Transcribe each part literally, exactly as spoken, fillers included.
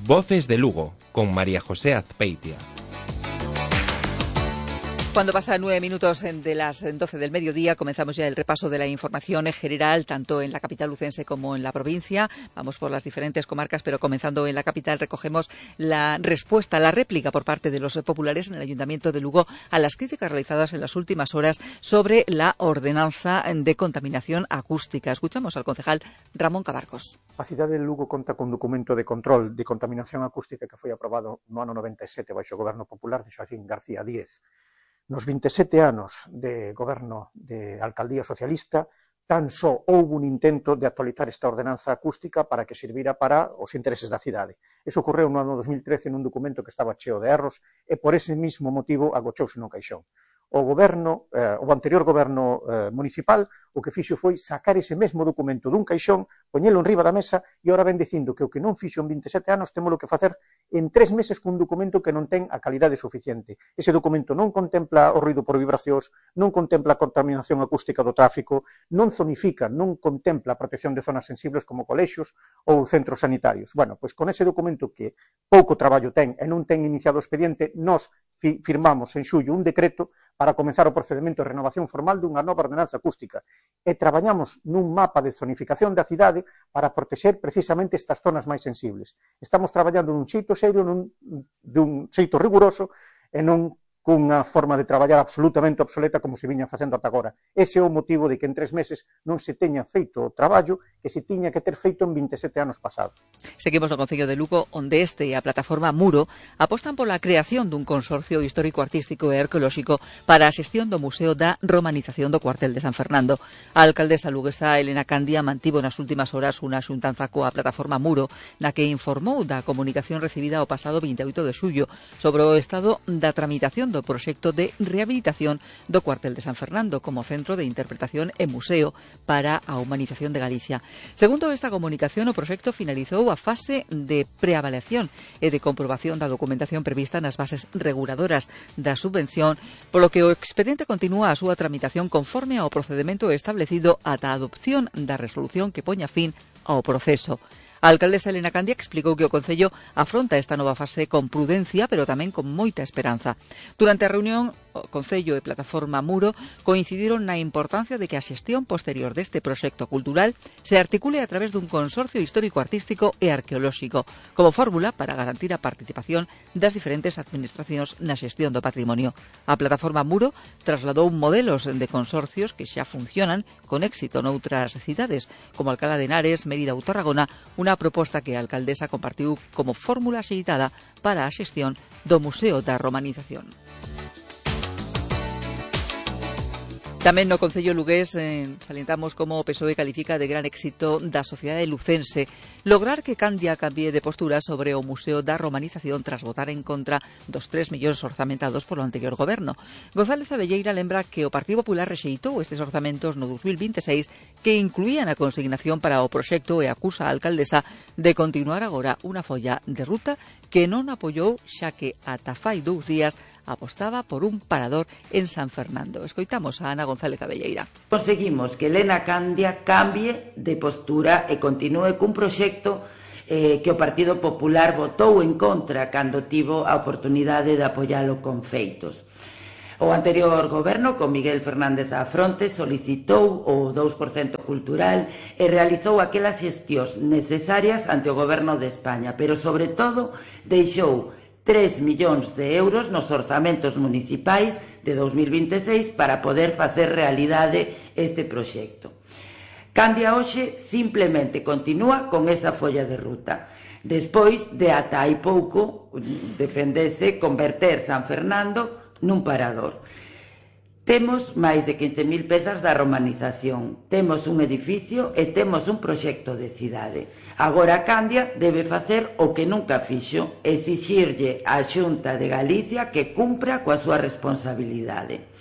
Voces de Lugo, con María José Azpeitia. Cuando pasan nueve minutos de las doce del mediodía, comenzamos ya el repaso de la información general, tanto en la capital lucense como en la provincia. Vamos por las diferentes comarcas, pero comenzando en la capital, recogemos la respuesta, la réplica por parte de los populares en el Ayuntamiento de Lugo a las críticas realizadas en las últimas horas sobre la ordenanza de contaminación acústica. Escuchamos al concejal Ramón Cabarcos. A cidade de Lugo conta con documento de control de contaminación acústica que foi aprobado no ano noventa e sete baixo o Goberno Popular de Xoaquín García Díez. Nos vinte e sete anos de goberno de alcaldía socialista, tan só houve un intento de actualizar esta ordenanza acústica para que servira para os intereses da cidade. Eso ocorreu no ano dos mil trece nun documento que estaba cheo de erros e por ese mismo motivo agochouse no caixón. O goberno, eh, o anterior goberno eh, municipal, o que fixo foi sacar ese mesmo documento dun caixón, poñelo enriba da mesa e ora ven dicindo que o que non fixo en vinte e sete anos témolo que facer en tres meses cun documento que non ten a calidade suficiente. Ese documento non contempla o ruido por vibracións, non contempla a contaminación acústica do tráfico, non zonifica, non contempla a protección de zonas sensibles como colexios ou centros sanitarios. Bueno, pois con ese documento que pouco traballo ten e non ten iniciado o expediente, nós fi firmamos en xullo un decreto para comenzar o procedimento de renovación formal dunha nova ordenanza acústica e traballamos nun mapa de zonificación da cidade para protexer precisamente estas zonas máis sensibles. Estamos traballando nun xeito serio, nun, dun xeito riguroso e non cunha forma de traballar absolutamente obsoleta como se viña facendo ata agora. Ese é o motivo de que en tres meses non se teña feito o traballo que se tiña que ter feito en vinte e sete anos pasados. Seguimos no Concello de Lugo, onde este e a plataforma Muro apostan pola creación dun consorcio histórico-artístico e arqueolóxico para a xestión do Museo da Romanización do Cuartel de San Fernando. A alcaldesa luguesa Elena Candia mantivo nas últimas horas unha xuntanza coa plataforma Muro, na que informou da comunicación recibida o pasado vinte e oito de xullo sobre o estado da tramitación do proxecto de rehabilitación do Cuartel de San Fernando como centro de interpretación e museo para a humanización de Galicia. Segundo esta comunicación, o proxecto finalizou a fase de preavaliación e de comprobación da documentación prevista nas bases reguladoras da subvención, polo que o expediente continúa a súa tramitación conforme ao procedemento establecido ata a adopción da resolución que poña fin ao proceso. A alcaldesa Elena Candia explicou que o Concello afronta esta nova fase con prudencia, pero tamén con moita esperanza. Durante a reunión, o Concello e Plataforma Muro coincidiron na importancia de que a xestión posterior deste proxecto cultural se articule a través dun consorcio histórico-artístico e arqueolóxico, como fórmula para garantir a participación das diferentes administracións na xestión do patrimonio. A Plataforma Muro trasladou modelos de consorcios que xa funcionan con éxito noutras cidades, como Alcalá de Henares, Mérida ou Tarragona, unha proposta que a alcaldesa compartiu como fórmula axeitada para a xestión do Museo da Romanización. Tamén no Concello lugués eh, salientamos como o P S O E califica de gran éxito da sociedade lucense lograr que Candia cambie de postura sobre o Museo da Romanización tras votar en contra dos tres millóns orzamentados polo anterior goberno. González Abelleira lembra que o Partido Popular rexeitou estes orzamentos no dos mil vinte e seis que incluían a consignación para o proxecto e acusa a alcaldesa de continuar agora unha folla de ruta que non apoiou xa que ata fai dous días apostaba por un parador en San Fernando. Escoitamos a Ana González Abelleira. Conseguimos que Elena Candia cambie de postura e continúe cun proxecto eh, que o Partido Popular votou en contra cando tivo a oportunidade de apoialo con feitos. O anterior goberno, con Miguel Fernández á fronte, solicitou o dous por cento cultural e realizou aquelas xestións necesarias ante o goberno de España, pero sobre todo deixou tres millóns de euros nos orzamentos municipais de dos mil vinte e seis para poder facer realidade este proxecto. Candia hoxe simplemente continúa con esa folla de ruta. Despois de ata hai pouco defendese converter San Fernando nun parador. Temos máis de quince mil pezas da romanización, temos un edificio e temos un proxecto de cidade. Agora Candia debe facer o que nunca fixo, exixirlle á Xunta de Galicia que cumpra coa súa responsabilidade.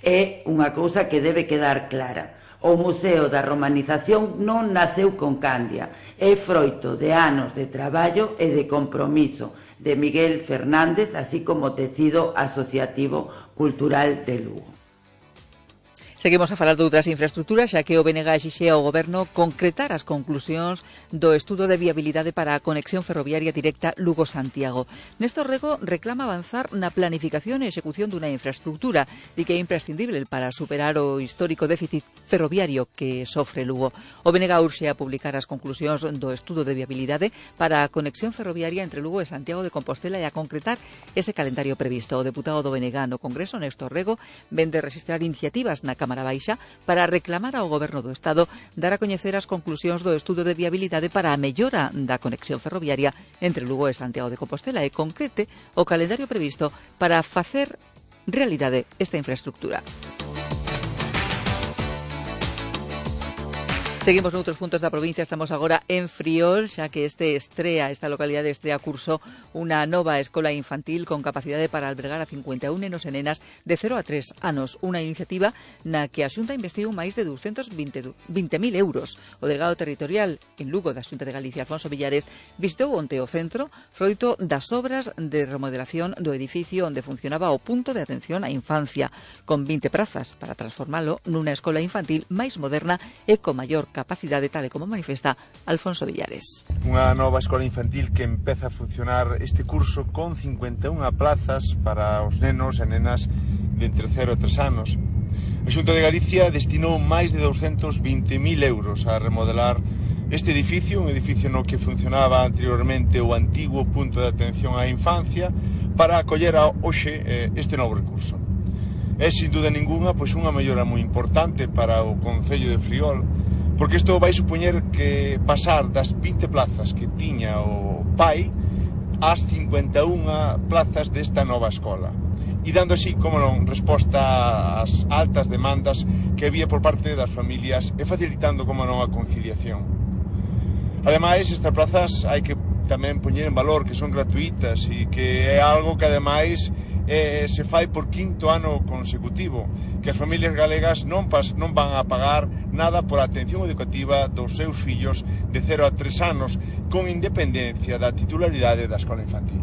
É unha cousa que debe quedar clara. O Museo da Romanización non naceu con Candia, é froito de anos de traballo e de compromiso de Miguel Fernández, así como tecido asociativo cultural de Lugo. Seguimos a falar de outras infraestructuras, xa que o B N G exixe ao Goberno concretar as conclusións do estudo de viabilidade para a conexión ferroviaria directa Lugo-Santiago. Néstor Rego reclama avanzar na planificación e execución dunha infraestructura e que é imprescindible para superar o histórico déficit ferroviario que sofre Lugo. O B N G urxe a publicar as conclusións do estudo de viabilidade para a conexión ferroviaria entre Lugo e Santiago de Compostela e a concretar ese calendario previsto. O deputado do B N G no Congreso, Néstor Rego, ven de registrar iniciativas na Cámara Baixa para reclamar ao Goberno do Estado dar a coñecer as conclusións do estudo de viabilidade para a mellora da conexión ferroviaria entre Lugo e Santiago de Compostela e concrete o calendario previsto para facer realidade esta infraestructura. Seguimos noutros puntos da provincia, estamos agora en Friol, xa que este estrea, esta localidade estrea curso unha nova escola infantil con capacidade para albergar a cincuenta e un nenos e nenas de cero a tres anos. Unha iniciativa na que a Xunta investiu máis de douscentos vinte mil euros. O delegado territorial en Lugo da Xunta de Galicia, Alfonso Villares, visitou onte o centro froito das obras de remodelación do edificio onde funcionaba o punto de atención á infancia, con vinte prazas para transformalo nunha escola infantil máis moderna e con maior capacidade, tal e como manifesta Alfonso Villares. Unha nova escola infantil que empeza a funcionar este curso con cincuenta e unha plazas para os nenos e nenas de entre cero e tres anos. A Xunta de Galicia destinou máis de douscentos vinte mil euros a remodelar este edificio, un edificio no que funcionaba anteriormente o antigo punto de atención á infancia, para acoller a hoxe este novo recurso. É, sin duda ninguna, pois unha mellora moi importante para o Concello de Friol, porque isto vai supoñer que pasar das vinte plazas que tiña o P A I ás cincuenta e unha plazas desta nova escola, e dando así, como non, resposta ás altas demandas que había por parte das familias e facilitando, como non, a conciliación. Ademais, estas plazas hai que tamén poñer en valor que son gratuitas e que é algo que ademais eh, se fai por quinto ano consecutivo, que as familias galegas non, pas, non van a pagar nada por a atención educativa dos seus fillos de cero a tres anos, con independencia da titularidade da escola infantil.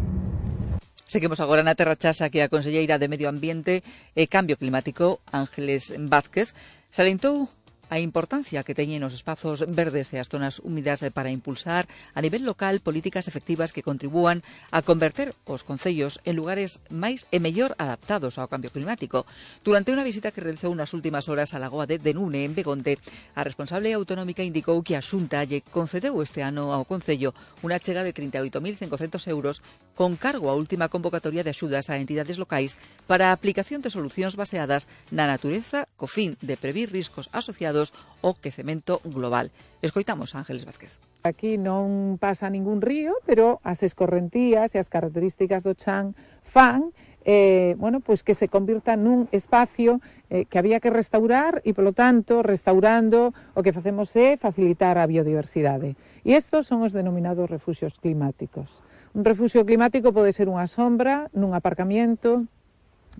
Seguimos agora na Terra Chasa, que a conselleira de Medio Ambiente e Cambio Climático, Ángeles Vázquez, salientou a importancia que teñen os espazos verdes e as zonas húmidas para impulsar a nivel local políticas efectivas que contribúan a converter os concellos en lugares máis e mellor adaptados ao cambio climático. Durante unha visita que realizou nas últimas horas á lagoa de Denune, en Begonte, a responsable autonómica indicou que a Xunta lle concedeu este ano ao Concello unha chega de trinta e oito mil cincocentos euros con cargo á última convocatoria de axudas a entidades locais para a aplicación de solucións baseadas na natureza co fin de previr riscos asociados o quecemento global. Escoitamos a Ángeles Vázquez. Aquí non pasa ningún río, pero as escorrentías e as características do chan fan eh, bueno, pues que se convirta nun espacio eh, que había que restaurar e, polo tanto, restaurando o que facemos é facilitar a biodiversidade. E estos son os denominados refuxios climáticos. Un refuxio climático pode ser unha sombra nun aparcamiento,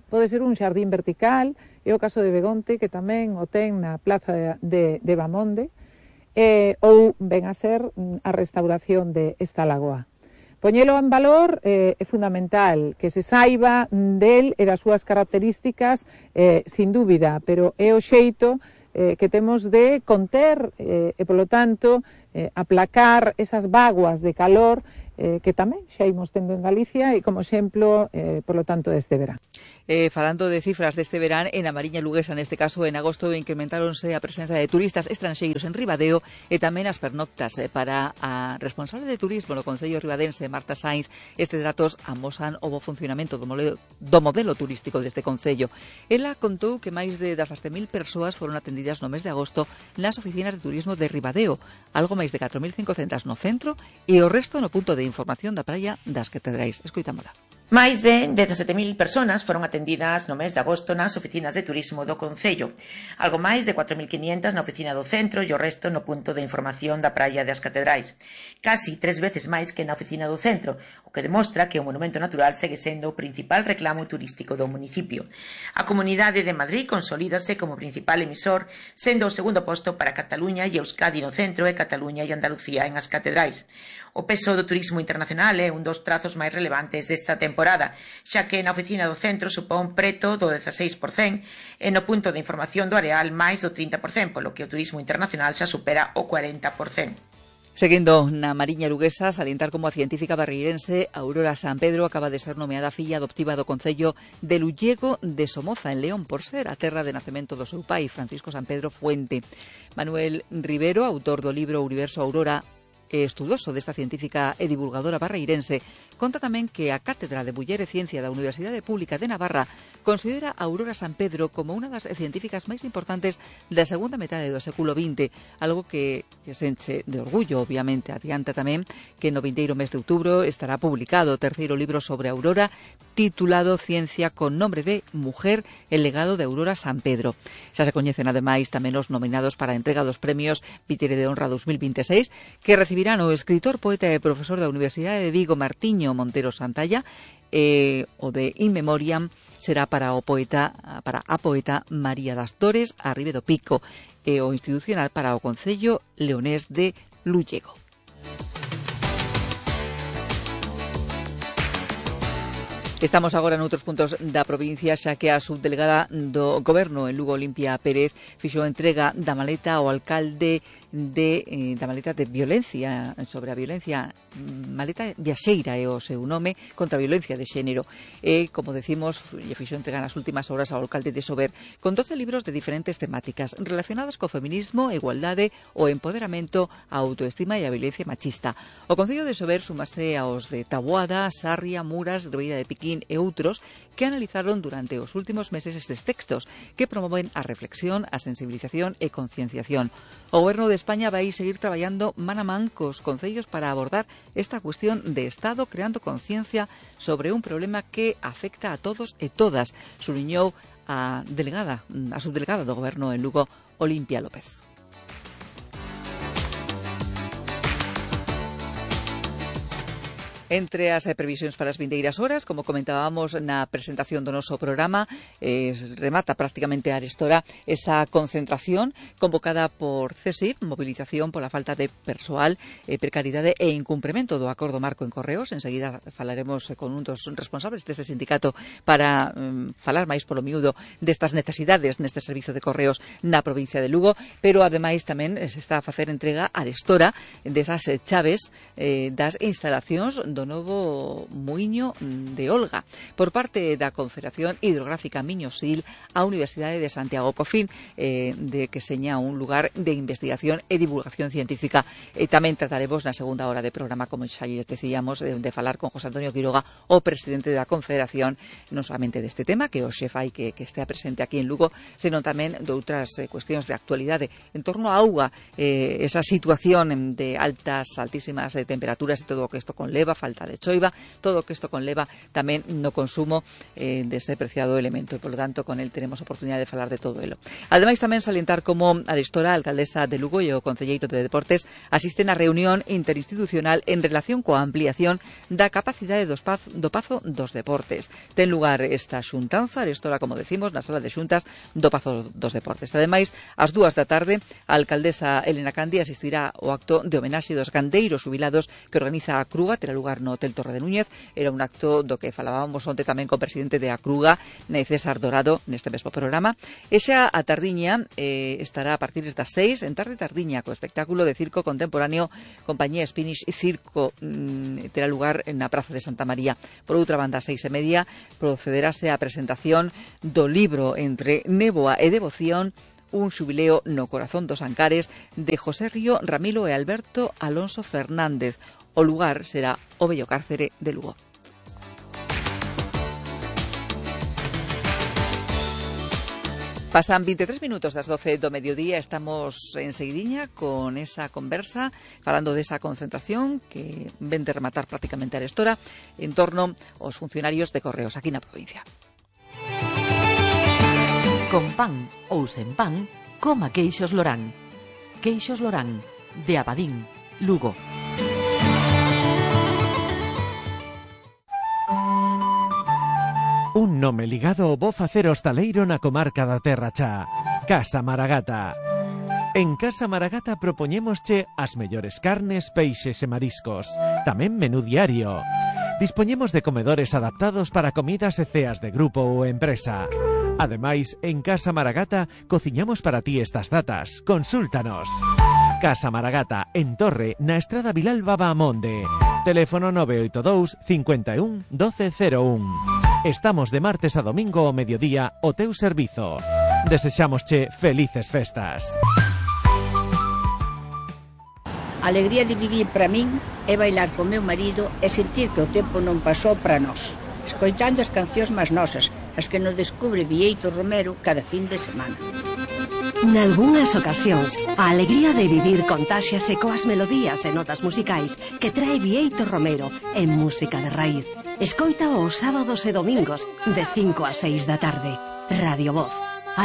pode ser un xardín vertical, é o caso de Begonte, que tamén o ten na plaza de, de, de Bamonde, eh, ou ven a ser a restauración de esta lagoa. Poñelo en valor eh, é fundamental, que se saiba del e das súas características, eh, sin dúbida, pero é o xeito eh, que temos de conter eh, e, polo tanto, eh, aplacar esas vaguas de calor eh, que tamén xa imos tendo en Galicia e, como exemplo, eh, polo tanto, deste verán. Eh, falando de cifras deste verán, en a Mariña Luguesa, neste caso, en agosto, incrementáronse a presenza de turistas estranxeiros en Ribadeo e tamén as pernoctas. Eh, para a responsable de turismo no Concello ribadense, Marta Sainz, estes datos amosan o bo funcionamento do modelo, do modelo turístico deste Concello. Ela contou que máis de dezasete mil persoas foron atendidas no mes de agosto nas oficinas de turismo de Ribadeo, algo máis de catro mil cincocentas no centro e o resto no punto de información da praia das Catedrais. Escoitámola. Máis de dezasete mil persoas foron atendidas no mes de agosto nas oficinas de turismo do Concello, algo máis de catro mil quinhentas na oficina do centro e o resto no punto de información da praia das Catedrais. Casi tres veces máis que na oficina do centro, o que demostra que o monumento natural segue sendo o principal reclamo turístico do municipio. A Comunidade de Madrid consolídase como principal emisor, sendo o segundo posto para Cataluña e Euskadi no centro e Cataluña e Andalucía en as Catedrais. O peso do turismo internacional é un dos trazos máis relevantes desta temporada, xa que na oficina do centro supón preto do dezaseis por cento e no punto de información do Areal máis do trinta por cento, polo que o turismo internacional xa supera o cuarenta por cento. Seguindo na Mariña Luguesa, salientar como a científica barreirense Aurora San Pedro acaba de ser nomeada filla adoptiva do Concello de Lullego de Somoza, en León, por ser a terra de nacemento do seu pai, Francisco San Pedro Fuente. Manuel Rivero, autor do libro Universo Aurora, e estudoso desta científica e divulgadora barreirense, conta tamén que a Cátedra de Muller e Ciencia da Universidade Pública de Navarra considera a Aurora San Pedro como unha das científicas máis importantes da segunda metade do século vinte, algo que se enche de orgullo, obviamente. Adianta tamén que no vindeiro mes de outubro estará publicado o terceiro libro sobre Aurora, titulado Ciencia con nombre de Mujer, el legado de Aurora San Pedro. Xa se coñecen ademais tamén os nominados para a entrega dos premios Vitere de Honra dos mil veintiséis, que recibirán o escritor, poeta e profesor da Universidade de Vigo, Martiño Montero Santalla, e o de In Memoriam será para o poeta para a poeta María das Dores Arribe do Pico, e o institucional para o Concello Leonés de Lullego. Estamos agora noutros puntos da provincia, xa que a subdelegada do Goberno en Lugo, Olimpia Pérez, fixo entrega da maleta ao alcalde de, eh, da maleta de violencia, sobre a violencia, maleta viaxeira é o seu nome, contra a violencia de xénero. E, como decimos, lle fixo entrega nas últimas horas ao alcalde de Sober con doce libros de diferentes temáticas relacionadas co feminismo, a igualdade, o empoderamento, a autoestima e a violencia machista. O Concello de Sober sumase aos de Taboada, Sarria, Muras, Ribeira de Piquín e outros que analizaron durante os últimos meses estes textos que promoven a reflexión, a sensibilización e concienciación. O Goberno de España vai seguir traballando man a man cos concellos para abordar esta cuestión de Estado, creando conciencia sobre un problema que afecta a todos e todas, subliñou a delegada, a subdelegada do Goberno en Lugo, Olimpia López. Entre as previsións para as vindeiras horas, como comentábamos na presentación do noso programa, eh, remata prácticamente a arestora esa concentración convocada por C S I P, movilización pola falta de persoal, eh, precariedade e incumprimento do acordo marco en Correos. Enseguida falaremos con un dos responsables deste sindicato para um, falar máis polo miúdo destas necesidades neste servizo de Correos na provincia de Lugo, pero ademais tamén se está a facer entrega a arestora desas chaves eh, das instalacións do do novo muiño de Olga por parte da Confederación Hidrográfica Miñosil á Universidade de Santiago, co fin eh, de que seña un lugar de investigación e divulgación científica. E tamén trataremos na segunda hora de programa, como xa lles decíamos, de, de falar con José Antonio Quiroga, o presidente da Confederación, non solamente deste tema que o xefai que, que estea presente aquí en Lugo, senón tamén de outras eh, cuestións de actualidade en torno á auga, eh, esa situación de altas, altísimas eh, temperaturas e todo o que isto conleva, falta de choiva, todo o que isto conleva tamén no consumo eh, dese preciado elemento, e polo tanto con el teremos oportunidade de falar de todo elo. Ademais tamén salientar como arestora, a alcaldesa de Lugo e o concelleiro de Deportes asisten á reunión interinstitucional en relación coa ampliación da capacidade dos paz, do Pazo dos Deportes. Ten lugar esta xuntanza arestora, como decimos, na sala de xuntas do Pazo dos Deportes. Ademais, ás dúas da tarde, a alcaldesa Elena Candia asistirá ao acto de homenaxe dos gandeiros jubilados que organiza a Cruga, terá lugar no Hotel Torre de Núñez. Era un acto do que falábamos onte tamén co presidente de a Cruga, César Dorado, neste mesmo programa. E xa a tardiña eh, estará a partir das seis, en tarde tardiña, co espectáculo de circo contemporáneo Compañía Spanish e Circo, mm, terá lugar na Praza de Santa María. Por outra banda, a seis e media, procederase a presentación do libro Entre néboa e devoción, un xubileo no corazón dos Ancares, de José Río Ramilo e Alberto Alonso Fernández. O lugar será o Bello Cárcere de Lugo. Pasan veintitrés minutos das doce do mediodía, estamos en seguidiña con esa conversa, falando desa concentración que ven de rematar prácticamente a arestora en torno aos funcionarios de Correos aquí na provincia. Con pan ou sen pan, coma queixos Lorán. Queixos Lorán, de Abadín, Lugo. Un nome ligado ao bo facer hostaleiro na comarca da Terra Chá. Casa Maragata. En Casa Maragata propoñémosche as mellores carnes, peixes e mariscos. Tamén menú diario. Dispoñemos de comedores adaptados para comidas e ceas de grupo ou empresa. Ademais, en Casa Maragata cociñamos para ti estas datas. Consúltanos. Casa Maragata, en Torre, na Estrada Vilalba Baamonde. Teléfono nove oito dous, cinco un, doce cero un. Estamos de martes a domingo ao mediodía o teu servizo. Desexámosche felices festas. A alegría de vivir para min é bailar con meu marido e sentir que o tempo non pasou para nós, escoitando as cancións máis nosas, as que nos descubre Bieito Romero cada fin de semana. Nalgúnas ocasións, a alegría de vivir contáxiase coas melodías e notas musicais que trae Bieito Romero en música de raíz. Escoita os sábados e domingos de cinco a seis da tarde. Radio Voz.